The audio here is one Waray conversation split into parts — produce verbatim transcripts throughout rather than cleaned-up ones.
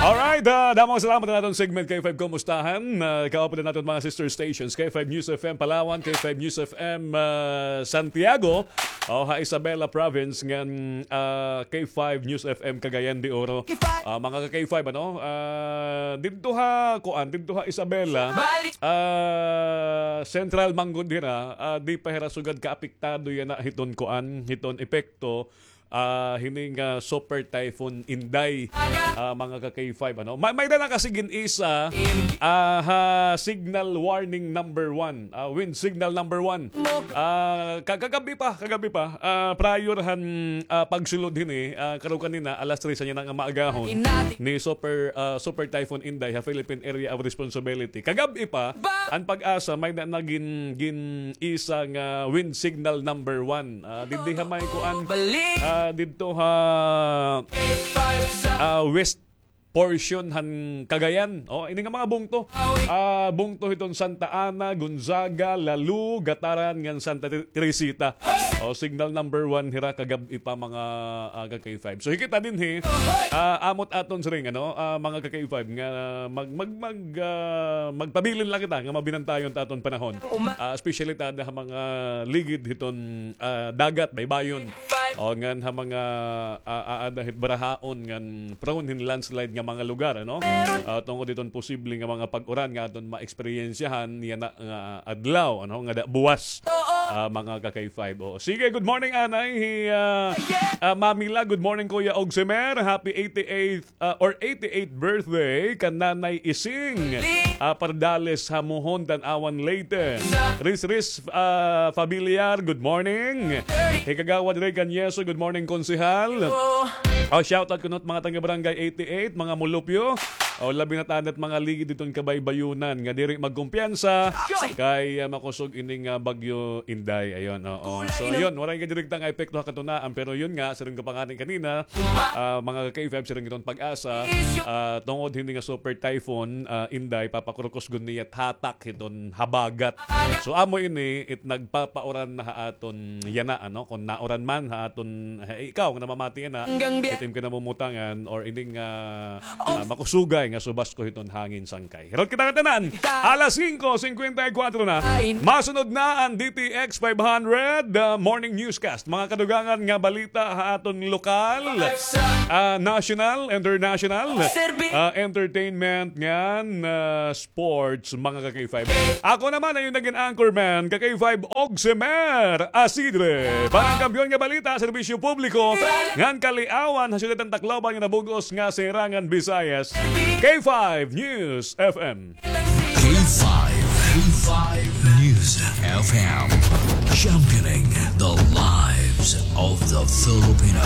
Alright, ah, damo nga salamat ha aton segment K five Kumustahan. Ah, kaupod an aton mga sister stations, K five News F M Palawan, K five News F M, ah, Santiago, o ha Isabela Province ngan, ah, K five News F M Cagayan de Oro. Ah, mga ka K five, ano? Ah, didto ha, kuan, didto ha Isabela, ah, Central man gud hira, ah, di pa hira sugad kaapektado yana hiton kuan, hiton epekto, ah, hini nga Super Typhoon Inday, ah, mga ka K five, ano? May, may-ada na kasi gin-isa, ah, ha signal warning number one, ah, wind signal number one. Ah, ka-, kagab-i pa, kagab-i pa. Ah, prior han, ah, pagsulod hini, ah, karuyag kanina, alas tres yana nga maagahon, ni Super, ah, Super Typhoon Inday ha Philippine Area of Responsibility. Kagab-i pa, an PAGASA may-ada na gin-, gin-isa nga wind signal number one. Ah, didto ha may kuan, ah, didto ha, ah, west portion han Cagayan. O, ini nga mga bungto. Ah, bungto hiton Santa Ana, Gonzaga, Lalu, Gataran, ngan Santa Ter-, Teresita. O, signal number one hira kagab-i pa, mga, ah, ka K five. So, hikit ta dinhi, ah, amo it aton siring, ano, ah, mga ka K five, nga mag-, mag-, mag-, ah, magpabilin la kita nga mabinantayon it aton panahon. Ah, especially ta ada ha mga ligid hiton, ah, dagat, baybayon. O ngan ha mga, ah, aada hit barahaon ngan prone hin landslide nga mga lugar, ano? Ah, tungod hiton posible nga mga pag-uran nga aton maeksperiensyahan yana nga adlaw, ano, ngada buwas, ah, mga ka K five. O, sige, good morning, anay. Hi, ah, ah, Mami La, good morning, Kuya Ogsimer. Happy eighty-eighth ah, or eighty-eighth birthday kan Nanay Ising, ah, Pardales ha Mohon, Tanauan, Leyte. Ris Ris, ah, Familiar, good morning. Hi Kagawad Ray Canyeso, good morning, Konsehal. Ah, shoutout kuno hit mga taga Barangay eighty-eight, mga mulupyo. O, labi na tana it mga ligid hiton kabaybayonan nga diri magkumpiyansa kay, ah, makusog ini nga Bagyo Inday. Ayun, oo. So, ayun, waray nga direkta nga epekto ha katunaan, pero yun nga, siring ko pa ngani kanina, ah, mga ka K five, siring hiton PAGASA, ah, tungod hini nga Super Typhoon, ah, Inday, papakurukos gud niya it hatak hiton habagat. So, amo ini it nagpapauran na ha aton yana, ano, kon nauran man ha aton, ha ikaw nga namamati yana, it im kinamumutangan or ining, ah, ah, makusugay nga subasko hiton hangin sangkay. Hirot kita ngatanan. Alas singko singkwenta y kuwatro na. Masunod na an D T X five hundred, ah, Morning Newscast. Mga kadugangan nga balita ha aton lokal, ah, national, international, ah, entertainment ngan, ah, sports, mga ka K five. Ako naman an iyo nagin anchorman, ka K five Ogsimer Asidre. Para han kampiyon nga balita, serbisyo publiko, ngan kaliawan ha syudad han Tacloban ngan ha bug-os nga Sirangan Visayas, K five News F M. K five, K five News F M, championing the lives of the Filipino.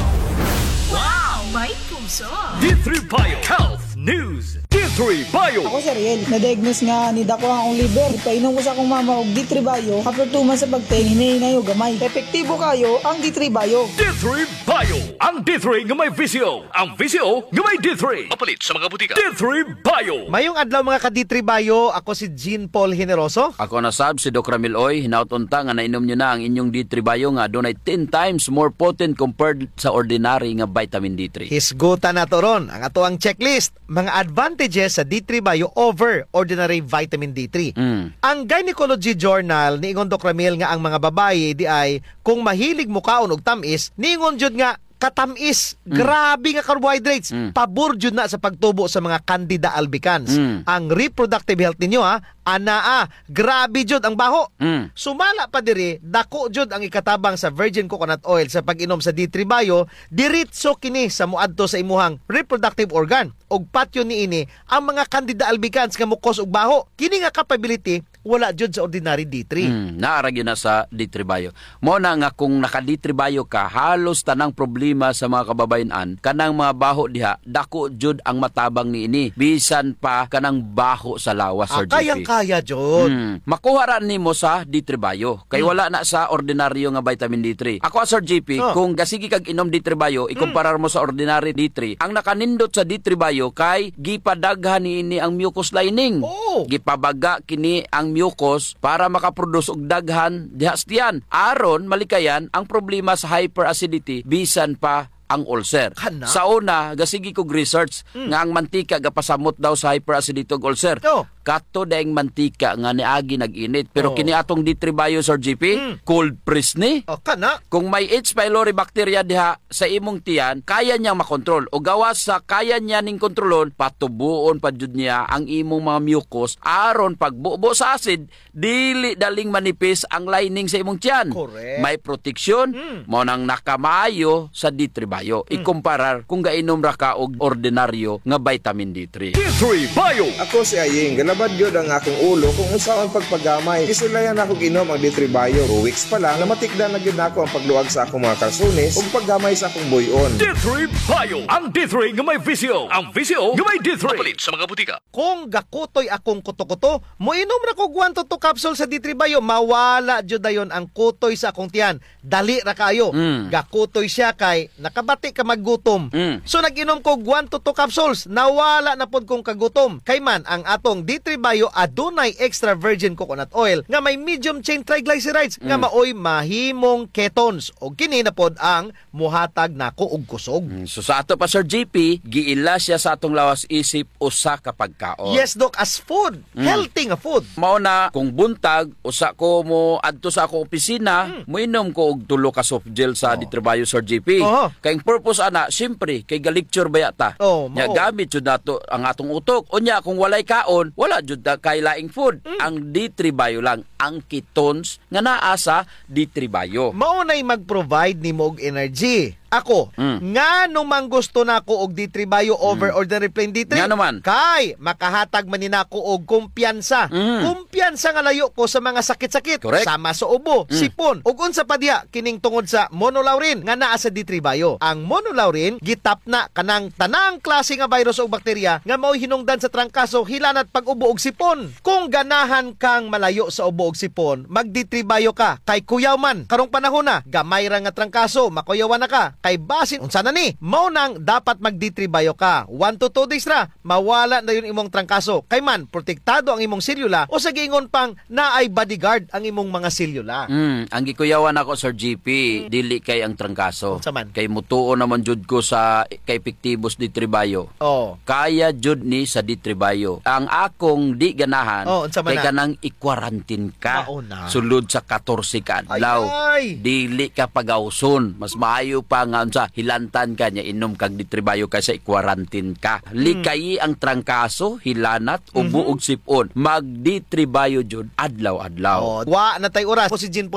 Wow! May puso! D three Bio Health News. D three Bio. Ako si Ariel. Na-diagnose nga nidako an akon liver. Ipainom ko sa akon mama og D three Bio. After two months sa pagtayin, hinay-hinay og gamay. Epektibo kaayo ang D three Bio. D three Bio. Ang D three nga may V C O. Ang V C O nga may D three. Mapalit sa mga butika. D three Bio. Mayong adlaw, mga ka D three Bio. Ako si Jean Paul Generoso. Ako na sab si Doc Ramil Oy. Hinaot unta nga nainom niyo na ang inyong D three Bio nga adunay ten times more potent compared sa ordinary nga vitamin D three. Hisgutan nato ron ang atoang checklist. Mga advantages sa D three Bio over ordinary vitamin D three. Mm. Ang Gynecology Journal niingon, Doc Ramil, nga ang mga babaye diay kung mahilig mokaon og tam-is, niingon jud nga katam-is, mm, grabe nga carbohydrates, mm, pabor jud na sa pagtubo sa mga candida albicans. Mm. Ang reproductive health ninyo, ha, anaa, grabe jud ang baho. Mm. Sumala pa diri, dako jud ang ikatabang sa virgin coconut oil sa pag-inom sa D three Bio, diretso kini sa moadto sa imuhang reproductive organ. Ug patyon niini ang mga candida albicans nga mo-cause og baho. Kini nga capability wala jud sa ordinary D three. Mm, naa ra gyud na sa D three Bio. Mao na nga kung naka-D three Bio ka, halos tanang problema sa mga kababayen-an, kanang mga baho diha, dako jud ang matabang niini. Bisan pa kanang baho sa lawas, Sir J P. Ah, kayang-kaya jud. Mm. Makuha ra nimo sa D three Bio. Kay, hmm, wala na sa ordinaryo nga vitamin D three. Ako, Sir J P, oh, kung gasige kag inom D three Bio, hmm, ikumparar mo sa ordinary D three, ang nakanindot sa D three Bio kay gipadaghan niini ang mucus lining. Oo. Gipabaga kini ang mucus para makaproduce og daghan diha sa tiyan. Aron malikayan ang problema sa hyperacidity, bisan pa ang ulcer. Kana? Sa una, gasigi kog research Mm. nga ang mantika gapasamot daw sa hyperacidity ug ulcer. Oh. Kato daing mantika nga niagi nag-init. Pero Oh. kini atong D three Bio, Sir G P, Mm. cold press ni. Oh, kana? Kung may H. pylori bacteria diha sa imong tiyan, kaya niyang makontrol. O gawas sa kaya niya ning kontrolon, patubuon pa jud niya ang imong mga mucus aron pagbubo sa acid, dili daling manipis ang lining sa imong tiyan. Correct. May proteksyon, Mm. mao nang nakamaayo sa D three Bio. Mm. Ikumparar kung gainom ra ka og ordinaryo nga vitamin D three. D three Bio. Ako si Aying, galabad gyud ang akong ulo kung unsaon pagpagamay. Gisulayan nako og inom ang D three Bio. Two weeks pa lang, namatikdan na gyud nako ang pagluag sa akong mga kalsones ug paggamay sa akong buy-on. D three Bio. Ang D three nga may V C O. Ang V C O nga may D three. Mapalit sa mga butika. Kung gakutoy akong kuto-kuto, moinom ra kog one to two capsule sa D three Bio, mawala jud dayon ang kutoy sa akong tiyan. Dali ra kaayo. Mm. Gakutoy siya kay nakabati ka maggutom. Mm. So, nag-inom kog one to two capsules, nawala na pod kong kagutom. Kay man, ang atong D three Bio adunay extra virgin coconut oil nga may medium chain triglycerides nga Mm. maoy mahimong ketones. O kini na pod ang muhatag nako og kusog. Mm, so sa ato pa, Sir G P, giila siya sa atong lawas isip usa ka pagkaon. Yes, Doc, as food. Mm. Healthy nga food. Mao na, kung buntag, usa ko moadto sa akong opisina, Mm. moinom ko og tulo ka soft gel sa Oh. D three Bio, Sir G P. Oho. Kay ang purpose ana, siyempre, kay ga-lecture baya ta. Oh, Nya, mao. gamit jud nato ang atong utok. Unya, kung walay kaon, wala jud ta kay laing food. Mm. Ang D three Bio lang, ang ketones nga naa sa D three Bio. Mao na'y mag-provide nimo og energy. Ako, Mm. ngano man gusto nako og D three Bio over Mm. ordinary plain D three? Ngano man? Kay makahatag man ni nako og kumpiyansa. Mm. Kumpiyansa nga layo ko sa mga sakit-sakit, Correct. sama sa ubo, Mm. sipon, ug unsa pa diha kining tungod sa monolaurin nga naa sa D three Bio. Ang monolaurin gitapna kanang tanang klase nga virus o bakterya nga mao'y hinungdan sa trangkaso, hilanat, pag-ubo ug sipon. Kung ganahan kang malayo sa ubo ug sipon, mag D three Bio ka, kay kuyaw man. Karong panahona, gamay ra nga trangkaso, makuyawan na ka. Kay basin unsa na ni? Mao nang dapat mag D three Bio ka. One to two days ra, mawala na dayon imong trangkaso. Kay man, protektado ang imong selula, o sa giingon pang naay bodyguard ang imong mga selula. Mm, ang gikuyawan nako, Sir G P, Mm. dili kay ang trangkaso. Unsa man? Kay mutuo naman jud ko sa ka-epektibo sa D three Bio. Oh. Kaya jud ni sa D three Bio. Ang akong di ganahan, Oh, unsa man kay na? kanang i-quarantine ka. Mao na. Sulod sa katorse ka Ay, adlaw. ay. Dili ka pagawson. Mas maayo pa nga unsa, hilantan ka nya inom kag D three Bio kaysa i-quarantine ka. Hmm. Likayi ang trangkaso, hilanat, ubo Mhm. ug sipon. Mag D three Bio jud adlaw-adlaw. Oh, wa na tay oras. Ako si Jean Paul